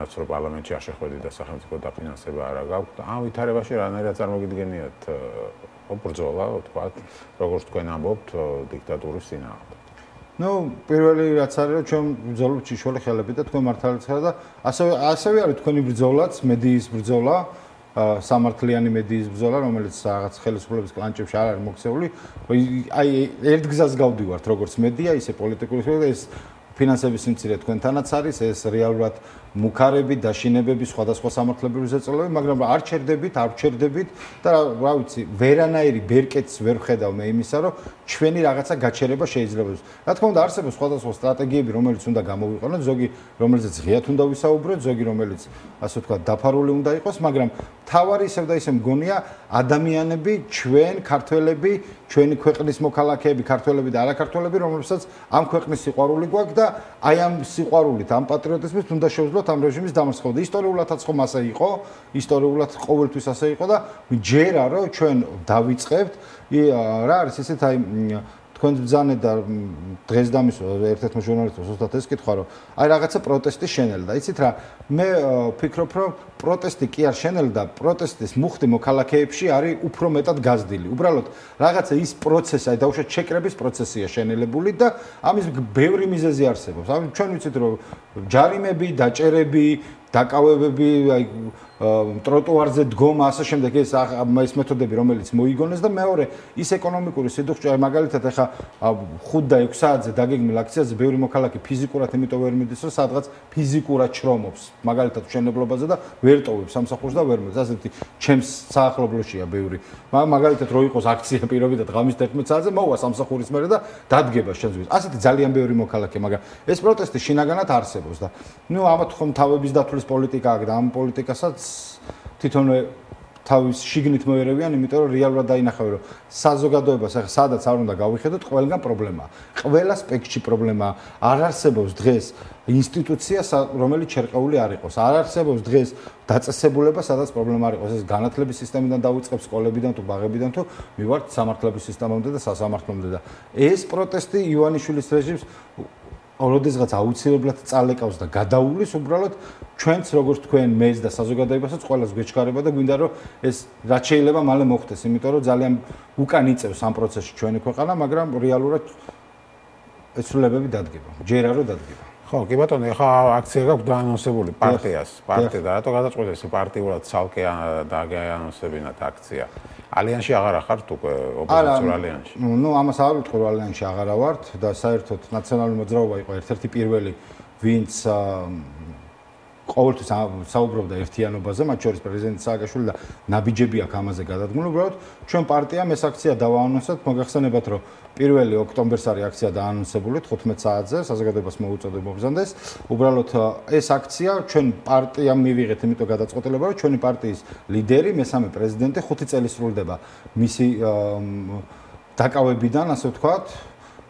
რაც რომ პარლამენტში არ შეხვედი და სახელმწიფო დაფინანსება არ გაქვს. ამ ვითარებაში რანაირად წარმოგიდგენიათ ბრძოლა, ვთქვათ, როგორც თქვენ ამბობთ, დიქტატურის წინააღმდეგ. პირველი რაც არის, რომ ჩვენ ბრძოლობთ შიშველი ხელებით და თქვენ მართალიც ხარ და ასევე არის თქვენი ბრძოლაც, მედიის ბრძოლა, სამართლიანი მედიის ბრძოლა, რომელიც რაღაც ხელისუფლების კლანჭებში არ არის მოქცეული. აი ერთ გზას გავდივართ, როგორც მედია, ისე პოლიტიკური ეს ფინანსების სიმცირე თქვენთანაც არის, ეს რეალურად მუქარები, დაშინებები, სხვადასხვა სამართლებრივი ზეწოლები, მაგრამ არ ჩერდებით და რა ვიცი, ვერანაირი ბერკეტს ვერ ვხედავ მე იმისა, რომ ჩვენი რაღაცა გაჩერება შეიძლება. რა თქმა უნდა, არსებობს სხვადასხვა სტრატეგიები, რომელიც უნდა გამოვიყენოთ, ზოგი რომელზეც ღიად უნდა ვისაუბროთ, ზოგი რომელიც ასე ვთქვათ, დაფარული უნდა იყოს, მაგრამ თავარი ისევ და ისევ მგონია ადამიანები, ჩვენ ქართველები, ჩვენი ქვეყნის მოქალაქეები, ქართველები და არაქართველები, რომლებსაც ამ ქვეყნის სიყვარული გვაქვს და აი ამ სიყვარულით, ამ პატრიოტიზმით უნდა შევძლოთ ამ რეჟიმის დამარცხება. ისტორიულადაც ხომ ასე იყო, ისტორიულად ყოველთვის ასე იყო და ჯერა რომ ჩვენ დავიწყებთ, რა არის ესეთ აი თქვენ ბრძანეთ და დღეს დამისვა ერთ-ერთმა ჟურნალისტმა ზუსტად ეს კითხვა რომ აი რაღაცა პროტესტი შენელდა. იცით რა, მე ვფიქრობ რომ პროტესტი კი არ შენელდა, პროტესტის მუხტი მოქალაქეებში არის უფრო მეტად გაზრდილი. უბრალოდ რაღაცა ის პროცესი, აი დაუშვათ ჩეკრების პროცესია შენელებული და ამის ბევრი მიზეზი არსებობს. აი ჩვენ ვიცით რომ ჯარიმები, დაჭერები, დაკავებები, აი ტროტუარზე დგომა, ასე შემდეგ ეს მეთოდები, რომელიც მოიგონეს და მეორე ის ეკონომიკური სიდუხჭე, აი მაგალითად ახლა 5 და 6 საათზე დაგეგმილ აქციაზე ბევრი მოქალაქე ფიზიკურად იმიტომ ვერ მიდის, რომ სადღაც ფიზიკურად შრომობს, მაგალითად მშენებლობაზე და ვერ ტოვებს სამსახურს და ვერ მოდის. ასეთი ჩემს საახლობლოშია ბევრი. მაგალითად რო იყოს აქცია პირობითად ღამის 11 საათზე მოვა სამსახურის მერე და დადგება შენს. ასეთი ძალიან ბევრი მოქალაქე, მაგრამ ეს პროტესტი შინაგანად არსებობს და ამათ ხომ თავების დათვლის პოლიტიკა აქვს და ამ პოლიტიკასაც თვითონვე თავის შიგნით მოერევიან, იმიტომ რომ რეალურად დაინახავენ, რომ საზოგადოებას ახლა სადაც არ უნდა გავიხედოთ, ყველგან პრობლემაა. ყველა სპექტრში პრობლემაა. არ არსებობს დღეს ინსტიტუცია, რომელიც შერყეული არ იყოს. არ არსებობს დღეს დაწესებულება, სადაც პრობლემა არ იყოს. ეს განათლების სისტემიდან დავიწყებ, სკოლებიდან თუ ბაღებიდან თუ მივართ სამართლების სისტემამდე და სასამართლომდე და ეს პროტესტი ივანიშვილის რეჟიმს როდესღაც აუცილებლად წალეკავს და გადაუვლის უბრალოდ ჩვენც როგორც თქვენ მეც და საზოგადოებასაც ყველას გვეჩქარება და გვინდა რომ ეს რაც შეიძლება მალე მოხდეს, იმიტომ რომ ძალიან უკან იწევს ამ პროცესში ჩვენი ქვეყანა, მაგრამ რეალურად ეს ცვლილებები დადგება. ჯერა რომ დადგება. ხო, კი ბატონო, ახლა აქცია გაქვს დაანონსებული პარტია და რატო გადაწყვეტეს პარტიულად ცალკე დააგანონსებინათ აქცია? ალიანსში აღარ ხართ უკვე ოპოზიციურ ალიანსში? ამას არ ვიტყვი რომ ალიანსში აღარ ვართ და საერთოდ ნაციონალური მოძრაობა იყო ერთ-ერთი პირველი, ვინც ყოველთვის საუბრობდა ერთიანობაზე, მათ შორის პრეზიდენტ სააკაშვილი და ნაბიჯები აქვს ამაზე გადადგმული. უბრალოდ ჩვენ პარტიამ ეს აქცია დავაანონსოთ, მოგახსენებათ რომ 1 ოქტომბერს არის აქცია დაანონსებული 15 საათზე, საზოგადოებას მოუწოდებ მობრძანდეს. უბრალოდ ეს აქცია ჩვენ პარტიამ მივიღეთ, იმიტომ გადაწყვეტილება რომ ჩვენი პარტიის ლიდერი, მესამე პრეზიდენტი 5 წელი სრულდება მისი დაკავებიდან, ასე ვთქვათ,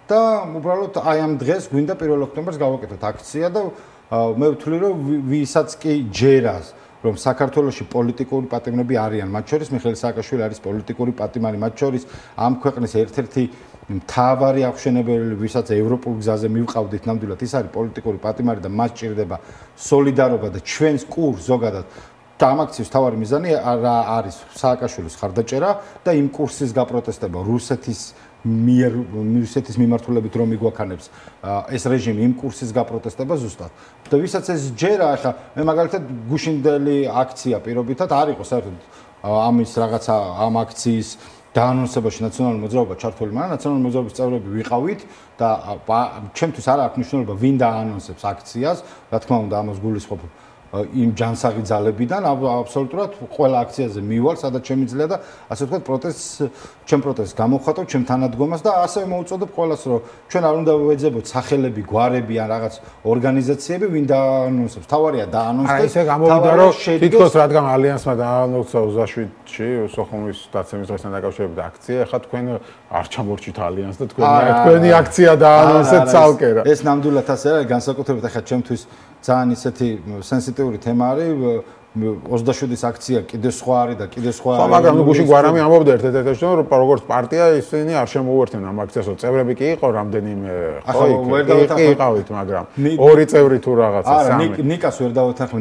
და უბრალოდ აი ამ დღეს გვინდა 1 ოქტომბერს გავაკეთოთ აქცია და მე ვთვლი რომ ვისაც კი ჯერას რომ საქართველოში პოლიტიკური პატიმრები არიან, მათ შორის მიხეილ სააკაშვილი არის პოლიტიკური პატიმარი, მათ შორის ამ ქვეყნის ერთ-ერთი მთავარი აღშენებელი, ვისაც ევროპულ გზაზე მივყავდით ნამდვილად, ის არის პოლიტიკური პატიმარი და მას ჭირდება სოლიდარობა და ჩვენს კურსს ზოგადად და ამ აქციის თავარი მიზანი არის სააკაშვილის ხარდაჭერა და იმ კურსის გაპროტესტება რუსეთის მიმართულებით რომ მიგვაქანებს ეს რეჟიმი იმ კურსის გაპროტესტება ზუსტად. და ვისაც ეს ჯერა, ახლა მე მაგალითად გუშინდელი აქცია პირობითად არ იყო საერთოდ ამის რაღაცა ამ აქციის დაანონსებაში ნაციონალური მოძრაობა ჩართული, მაგრამ ნაციონალური მოძრაობის წევრები ვიყავით და ჩემთვის არ აქვს მნიშვნელობა ვინ დაანონსებს აქციას, რა თქმა უნდა ამას გულისხმობ იმ ჯანსაღი ძალებიდან აბსოლუტურად ყველა აქციაზე მივალ, სადაც შემიძლია და ასე ვთქვათ ჩემ პროტესტს გამოვხატავ, ჩემ თანადგომას და ასევე მოუწოდებ ყველას, რომ ჩვენ არ უნდა ვეძებოთ სახელები, გვარები ან რაღაც ორგანიზაციები, ვინ დაანონსებს. თავარია დაანონსდეს. აი ესე გამოვიდა, რომ თითქოს რადგან ალიანსმა დაანონსა 27-ში სოხუმის დაცემის დღესთან დაკავშირებით აქცია, ახლა თქვენ არ ჩამორჩით ალიანსს და თქვენი აქცია დაანონსეთ ცალკე რა. ეს ნამდვილად ასე არის, განსაკუთრებით ახლა ჩემთვის ძალიან ისეთი სენსიტიური თემა არის, 27-ის აქცია კიდე სხვა არის და კიდე სხვა არის. ხო, მაგრამ გუშინ გვარამი ამბობდა ერთ-ერთ რომ როგორც პარტია ისინი არ შემოუერთდნენ ამ აქციასო. წევრები კი იყო რამდენიმე, ხო, იყავით, მაგრამ ორი წევრი თუ რაღაცა, სამი. არა, ნიკას ვერ დავეთანხმე,